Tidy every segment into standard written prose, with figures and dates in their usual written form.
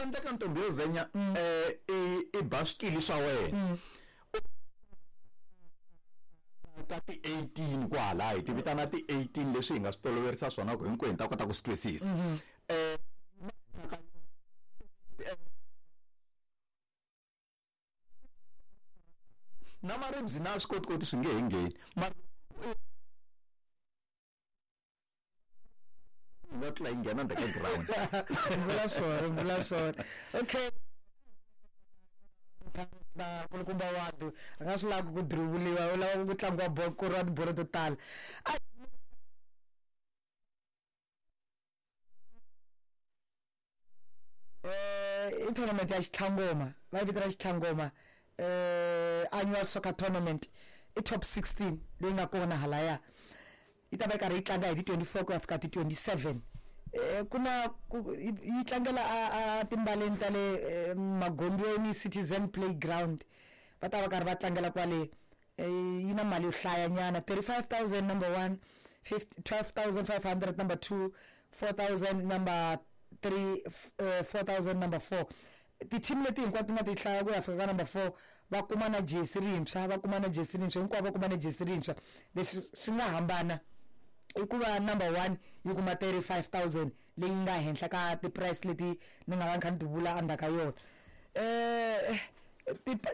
endleka ntombi yo zenya i ba swikili swa wena ka ti-18 kwala hi ti vitana ti-18 leswi hi nga swi toloverisa swona ku hinkwenu hi ta kota ku swi twisisa. Na maribzi na swikotikoti swi nge he ngheni nga tlula yi nghena ndzhaku ka ground. Vula swona, vula swona. Okay, va kulukumba wadu a nga swi lavi ku drivuliwa, u lava ku tlangiwa bolo, ku koriwa tibolo to tala. I tournament ya Xitlhangoma, va yi vitana Xitlhangoma annual soccer tournament. I top 16 leyi nga kona halaya, yi ta va yi karhi yi tlanga hi ti 24 ku ya fika ti 27. Ku na yi tlangela a timbaleni ta le Magondweni Citizen Playground, va ta va karhi va tlangela kwale. Yi na mali yo hlayanyana, 35000 number 1, 12500 number 2, 4000 number 3, 4000 number 4. Ti-team leti hinkwato ti nga ti hlaya ku ya fika ka number 4 va kuma na jesi rintshwa, va kuma na jesi rintshwa, hinkwavo va kuma na jesi rintshwa. Leswi swi nga hambana i ku va number 1 yi kuma 35000 leyi nga henhla ka ti-price leti ni nga va ni kha ni ti vula endzhaku ka yona.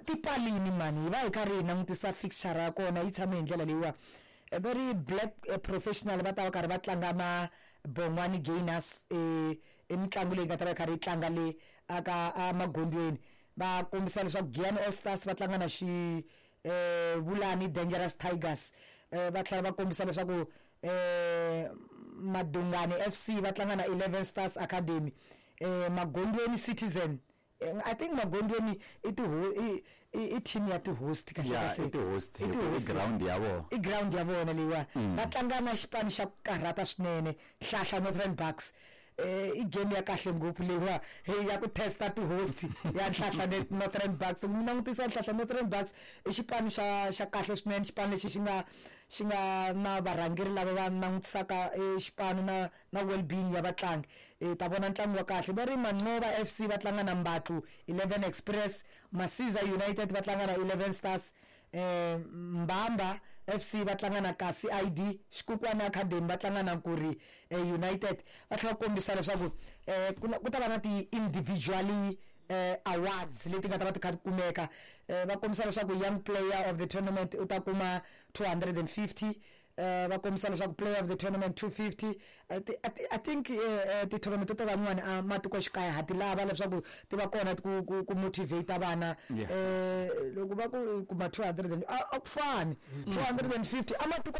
Tipalini mani, hi va hi karhi hi langutisa fixture ya kona yi tshame hi ndlela leyiwa. Va ri Black Professional va ta va karhi va tlanga na Bongwani Gainers, i mitlangu leyi nga ta va yi karhi yi tlanga le aka emagondweni. Va kombisa leswaku Giyani All Stars va tlanga na xi Vulani Dangerous Tigers. Va tlhela va kombisa leswaku Madungani FC va tlanga na 11 Stars Academy. Magondweni Citizen, I think Magondweni i ti i team ya ti-host kahle kahle. I ti-host, i ground ya vona. I ground ya vona leyiwa. Va tlanga na xipano xa ku karhata swinene, Hlahla Northern Bucks. I game ya kahle ngopfu leyiwa ya ku testa ti-host ya Nhlahla Northern Bucks. Mi langutisa Nhlahla Northern Bucks i xipano xa kahle swinene, xipano lexi xi nga na varhangeri lava va langutisaka xipano na well-being ya vatlangi. Ta vona ntlangu wa kahle. Va ri Manqoba FC va tlanga na Mbatlu 11 Express, Masiza United va tlanga na 11 Stars, Mbamba FC va tlanga na Kasi ID, Xikukwana Academy va tlanga na Nkuri United. Va tlhela va kombisa leswaku ku ta va na ti-individually awards leti nga ta va ti kha ti kumeka. Va kombisa leswaku young player of the tournament u ta kuma 250, va kombisa leswaku player of the tournament 250. I think ti-tournament to tala n'wana a matikoxikaya ha ti lava leswaku ti va kona ku motivate vana. Loko va ku kuma 200 a ku fani 250 a matiko.